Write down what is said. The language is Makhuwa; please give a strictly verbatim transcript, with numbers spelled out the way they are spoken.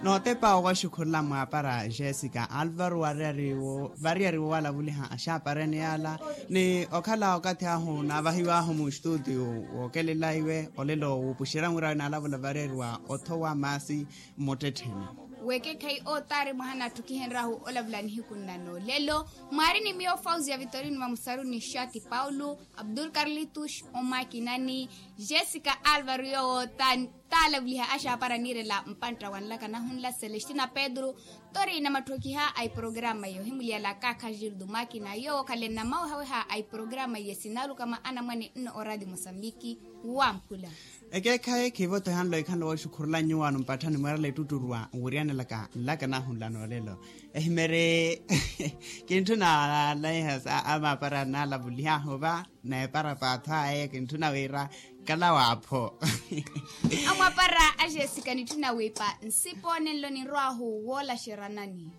Nootepa owaxukhurula mwaapara jessica alvaro wariyari wo wariyari wo walavuliha axaaparene yaala, ni okhala okathi ahu naavahiw'ahu muxituutiyo wookelela iwe olelo wuupuxerya murawe naalavula variyari wa othowa maasi mmuttettheni. Weekekhayi ootaari mwaha naattukihenryahu olavula nihiku nna noolelo. Mwaari ni miyo fauzi ya vitorino vamusaruni shati paulo, abdul karlitus omakinani, jessica alvaro yoowo taalavuliha axaapara niirela mpantta wa nlaka nahunla celestina pedro. Tori namatthokiha a iprograma iyo himuliyala kaakha gildo makina yoowo khale nnamawehaweha a iprograma iye sinalukama anamwane nno oradi mosambiki. Wamphula. Ekeekhayi khiivoto ehanlo ekhanlo wooxukhurula nyuwaano mpatthani mweerela ettutturwa nwiryanelaka nlaka nahunla noolelo. Ehimere kintthuna nalaiha sa amaapara naalavulihahu va. Neepara paatho aye kintthuna wira kala waapho. Amwapara a jessica nitthuna wiipa nsipo nenlo ninrwaahu woolaxeranani.